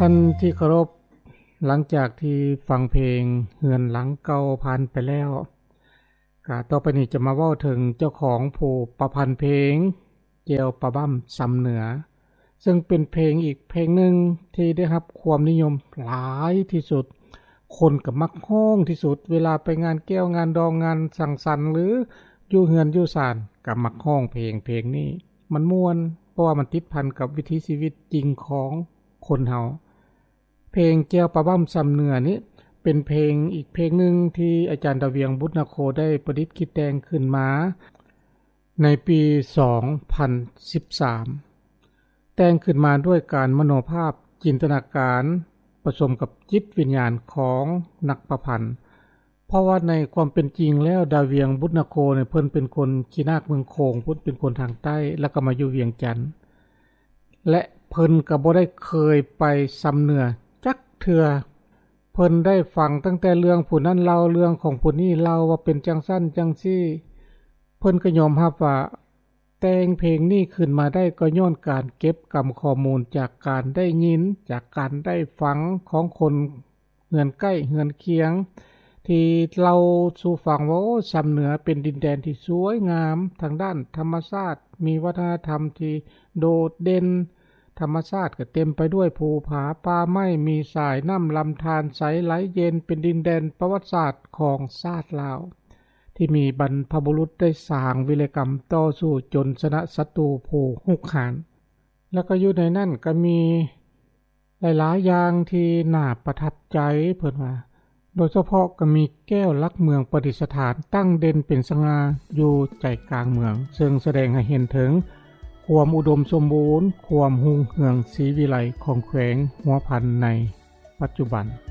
ທ່ານທີ່ເຄົາລົບ, ຫຼັງຈາກທີ່ຟັງເພງເຮືອນຫຼັງເກົ່າຜ່ານໄປແລ້ວ, ກະຕໍ່ໄປນີ້ຈະມາເວົ້າເຖິງເຈົ້າຂອງຜູ້ປະພັນເພງ ແຈ່ວປາບ້ຳຊຳເໜືອ, ເຊິ່ງເປັນເພງອີກເພງໜຶ່ງທີ່ໄດ້ຮັບຄວາມນິຍົມຫຼາຍທີ່ສຸດ, ຄົນກໍມັກຮ້ອງທີ່ສຸດ, ເວລາໄປງານແກ້ວງານດອງງານສັງສັນ ຫຼື ຢູ່ເຮືອນຢູ່ສານກໍມັກຮ້ອງເພງ, ເພງນີ້ມັນມ່ວນ ເພາະວ່າມັນຕິດພັນກັບວິຖີຊີວິດຈິງຂອງຄົນເຮົາ. ເພງແຈ່ວປາບ້ຳຊຳເໜືອນີ້ ເປັນເພງອີກເພງໜຶ່ງທີ່ອາຈານດາວຽງ ບຸດນາໂຄ ໄດ້ປະດິດຄິດແຕ່ງຂຶ້ນມາໃນປີສອງພັນສິບສາມ, ແຕ່ງຂຶ້ນມາດ້ວຍການມະໂນພາບ, ຈິນຕະນາການ ປະສົມກັບຈິດວິນຍານຂອງນັກປະພັນ. ເພາະວ່າໃນຄວາມເປັນຈິງແລ້ວ ດາວຽງ ບຸດນາໂຄ ນີ້ ເພິ່ນເປັນຄົນຂີ້ນາກເມືອງໂຂງ, ເພິ່ນເປັນຄົນທາງໃຕ້ ແລ້ວກໍມາຢູ່ວຽງຈັນ ແລະ ເພິ່ນກໍບໍ່ໄດ້ເຄີຍໄປຊຳເໜືອຈັກເທື່ອ. ເພິ່ນໄດ້ຟັງຕັ້ງແຕ່ເລື່ອງຜູ້ນັ້ນເລົ່າ, ເລື່ອງຂອງຜູ້ນີ້ເລົ່າວ່າເປັນຈັ່ງຊັ້ນຈັ່ງຊີ້. ເພິ່ນກໍຍອມຮັບວ່າ ແຕ່ງເພງນີ້ຂຶ້ນມາໄດ້ກໍຍ້ອນການເກັບກຳຂໍ້ມູນຈາກການໄດ້ຍິນ, ຈາກການໄດ້ຟັງຂອງຄົນເຮືອນໃກ້ເຮືອນຄຽງ ທີ່ເລົ່າສູ່ຟັງວ່າ ໂອ້ ຊຳເໜືອເປັນດິນແດນທີ່ສວຍງາມທາງດ້ານທຳມະຊາດ, ມີວັດທະນະທຳທີ່ໂດດເດັ່ນ, ທຳມະຊາດກໍເຕັມໄປດ້ວຍພູຜາປ່າໄມ້, ມີສາຍນ້ຳລຳທານໃສໄຫຼເຢັນ, ເປັນດິນແດນປະຫວັດສາດຂອງຊາດລາວ ທີ່ມີບັນພະບຸລຸດໄດ້ສ້າງວິລະກຳຕໍ່ສູ້ຈົນຊະນະສັດຕູຜູ້ຮຸກຮານ. ແລ້ວກໍຢູ່ໃນນັ້ນກໍມີຫຼາຍໆຢ່າງທີ່ໜ້າປະທັບໃຈ, ເພິ່ນວ່າ ໂດຍສະເພາະກໍມີແກ້ວຫຼັກເມືອງປະດິດສະຖານຕັ້ງເດັ່ນເປັນສະຫງ່າຢູ່ໃຈກາງເມືອງ, ເຊິ່ງສະແດງໃຫ້ເຫັນເຖິງຄວາມອຸດົມສົມບູນ, ຄວາມຮຸ່ງເຮືອງສີວິໄລຂອງແຂວງຫົວພັນໃນປັດຈຸບັນ.